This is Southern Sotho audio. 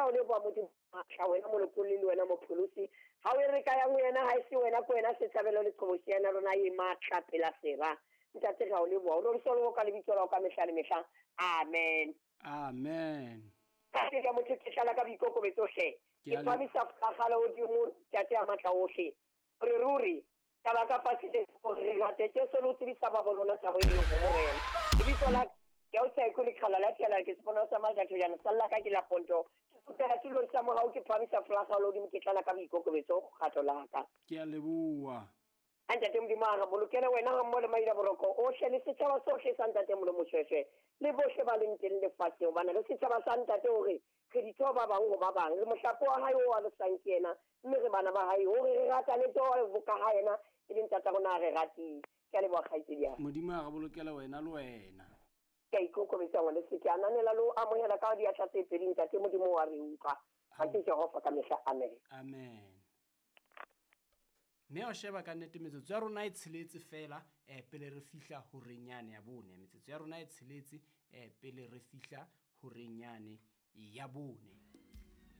Re a o leboha Modimo matla, wena molopolli le wena mopholosi. Ha o e re ka yang ho yena, ha e se wena, ke wena setshabelo le qhobosheana ya rona e matla pela sera. Ntate, re a o leboha. O roriswe le ka lebitso la hao ka mehla le mehla. Amen. Amen. Ntate ya motho, ke tlala ka boikokobetso hle. Ke Ke phamisa fagala hodimo, Ntate ya matla ohle. Re ruri taba ka fatshe le hore re rate Jesu le ho tsebisa ba bo rona thabo e leng ho Morena. Lebitso la ke o sa ikole qhala la tshela ke sepona sa matla thojana salla ka ke la ponto. Ke kgutlela tulong sa morao, ke phamisa folaga le hodimo, ke tlala ka boikokobetso kgatlo la ka. Ke a leboha. A Ntate Modimo a re bolokele wena ga mmoho le maila boroko ohle le setjhaba sohle sa Ntate Molomo Shweshwe le bohle ba leng teng lefatsheng, hobane re setjhaba sa Ntate, hore re ditho ba bang ho ba bang, re mohlape wa hae o alosang ke yena, mme re bana ba hae, hore re ratane jwalo ka ha yena e le ntata rona a re ratile. Ke a leboha kgaitsedi ya ka. Modimo a re bolokele wena le wena. Ke a ikokobetsa ngwaneso, ke ananela le ho amohela ka diatla tse pedi. Ntate Modimo wa re utlwa. Ha ke Jehova ka mehla. Amen. Amen. Mme o sheba ka nnete metsotso ya rona e tsheletse fela pele re fihla horeng yane ya bone. Metsotso ya rona e tsheletse pele re fihla horeng yane ya bone.